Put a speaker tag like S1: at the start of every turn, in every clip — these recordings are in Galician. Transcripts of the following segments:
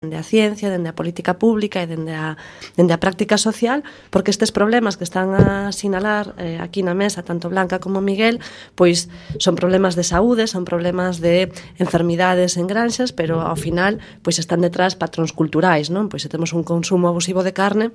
S1: dende a ciencia, dende a política pública e dende a práctica social, porque estes problemas que están a sinalar aquí na mesa, tanto Blanca como Miguel, pois son problemas de saúde, son problemas de enfermidades en granxas, pero ao final pois están detrás patróns culturais, non? Pois se temos un consumo abusivo de carne,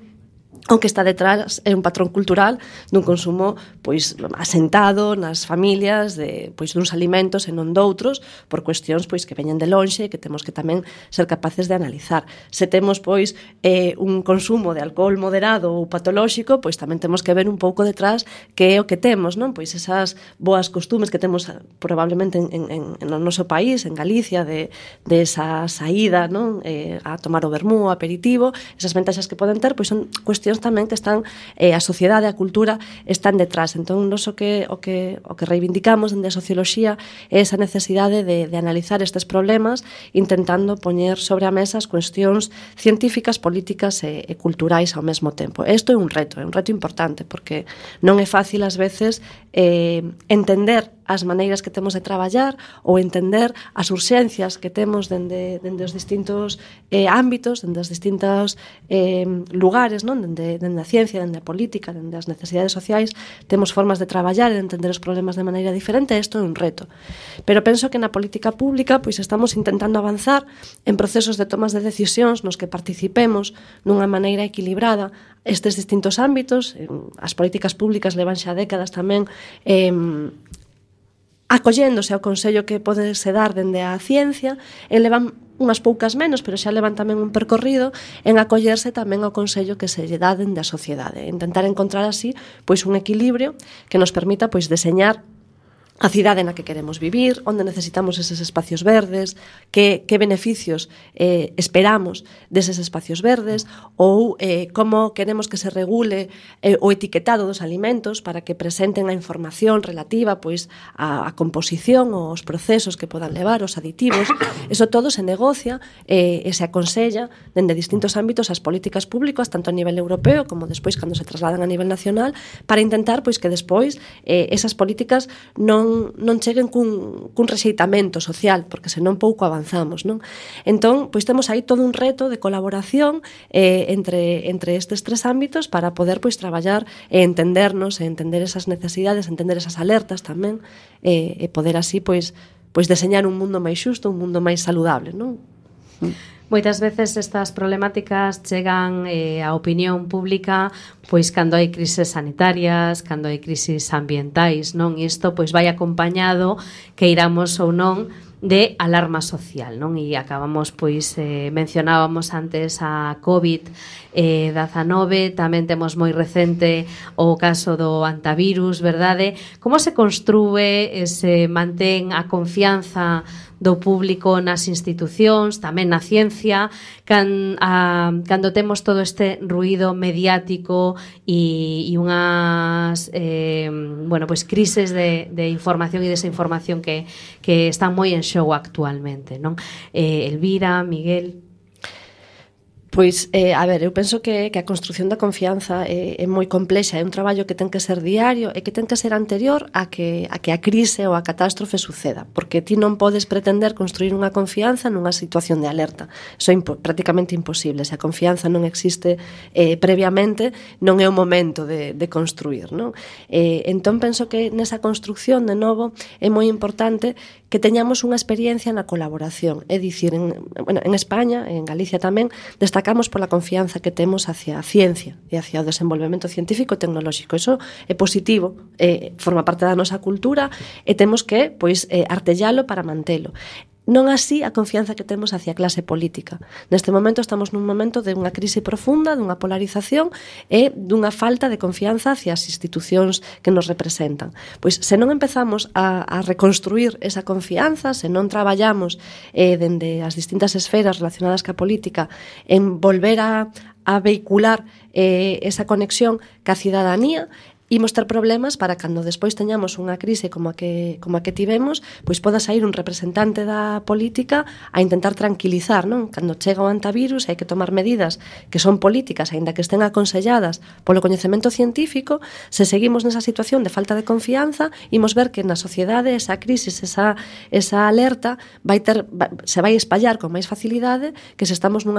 S1: o que está detrás é un patrón cultural dun consumo pois asentado nas familias de pois duns alimentos e non doutros por cuestións pois que veñen de lonxe e que temos que tamén ser capaces de analizar. Se temos pois un consumo de alcohol moderado ou patolóxico, pois tamén temos que ver un pouco detrás que é o que temos, non? Pois esas boas costumes que temos probablemente no noso país, en Galicia, de esa saída, non? A tomar o vermú, o aperitivo, esas ventaxas que poden ter, pois son cuestións tamén que están a sociedade, a cultura están detrás. Entón, nos o que reivindicamos dende a socioloxía é esa necesidade de analizar estes problemas intentando poñer sobre a mesa as cuestións científicas, políticas e culturais ao mesmo tempo. Isto é un reto importante, porque non é fácil ás veces entender as maneiras que temos de traballar ou entender as urxencias que temos dende os distintos ámbitos, dende os distintos lugares, non? Dende a ciencia, dende a política, dende as necesidades sociais, temos formas de traballar e de entender os problemas de maneira diferente, e isto é un reto. Pero penso que na política pública pois estamos intentando avanzar en procesos de tomas de decisións nos que participemos dunha maneira equilibrada estes distintos ámbitos. As políticas públicas levan xa décadas tamén acolléndose ao consello que pode se dar dende a ciencia, e levan unhas poucas menos, pero xa levan tamén un percorrido en acollerse tamén ao consello que se lle dá dende a sociedade, intentar encontrar así pois un equilibrio que nos permita pois deseñar a cidade na que queremos vivir, onde necesitamos eses espacios verdes, que beneficios esperamos deses espacios verdes, ou como queremos que se regule o etiquetado dos alimentos para que presenten a información relativa pois a composición ou os procesos que podan levar, os aditivos. Eso todo se negocia e se aconsella dende distintos ámbitos as políticas públicas, tanto a nivel europeo como despois cando se trasladan a nivel nacional, para intentar pois que despois esas políticas non cheguen cun rexeitamento social, porque senón pouco avanzamos, non? Entón, pois temos aí todo un reto de colaboración entre estes tres ámbitos para poder pois traballar e entendernos, e entender esas necesidades, entender esas alertas tamén, e poder así pois deseñar un mundo máis xusto, un mundo máis saludable, non?
S2: Moitas veces estas problemáticas chegan á opinión pública pois cando hai crises sanitarias, cando hai crises ambientais, non? E isto pois vai acompañado, que iramos ou non, de alarma social, non? E acabamos, pois, mencionábamos antes a COVID-19, tamén temos moi recente o caso do antivirus, verdade? Como se construe e se mantén a confianza do público nas institucións, tamén na ciencia, cando temos todo este ruído mediático e unhas pois crises de información e desinformación que están moi en xogo actualmente, non? Elvira, Miguel.
S1: Pois, a ver, eu penso que a construción da confianza é moi complexa, é un traballo que ten que ser diario e que ten que ser anterior a que a crise ou a catástrofe suceda, porque ti non podes pretender construir unha confianza nunha situación de alerta. Iso é prácticamente imposible. Se a confianza non existe previamente, non é o momento de construir, non? Entón, penso que nesa construcción, de novo, é moi importante que teñamos unha experiencia na colaboración. É dicir, en España, en Galicia tamén, destacamos pola confianza que temos hacia a ciencia e hacia o desenvolvemento científico e tecnolóxico. Iso é positivo, forma parte da nosa cultura e temos que artellalo para mantelo. Non así a confianza que temos hacia a clase política. Neste momento estamos nun momento de unha crise profunda, dunha polarización e dunha falta de confianza hacia as institucións que nos representan. Pois se non empezamos a reconstruir esa confianza, se non traballamos dende as distintas esferas relacionadas ca política en volver a vehicular esa conexión ca cidadanía, imos ter problemas para cando despois teñamos unha crise como a que tivemos, pois poda sair un representante da política a intentar tranquilizar, non? Cando chega o antivirus hai que tomar medidas que son políticas, aínda que estén aconselladas polo coñecemento científico. Se seguimos nesa situación de falta de confianza, imos ver que na sociedade esa crisis, esa alerta se vai espallar con máis facilidade que se estamos nunha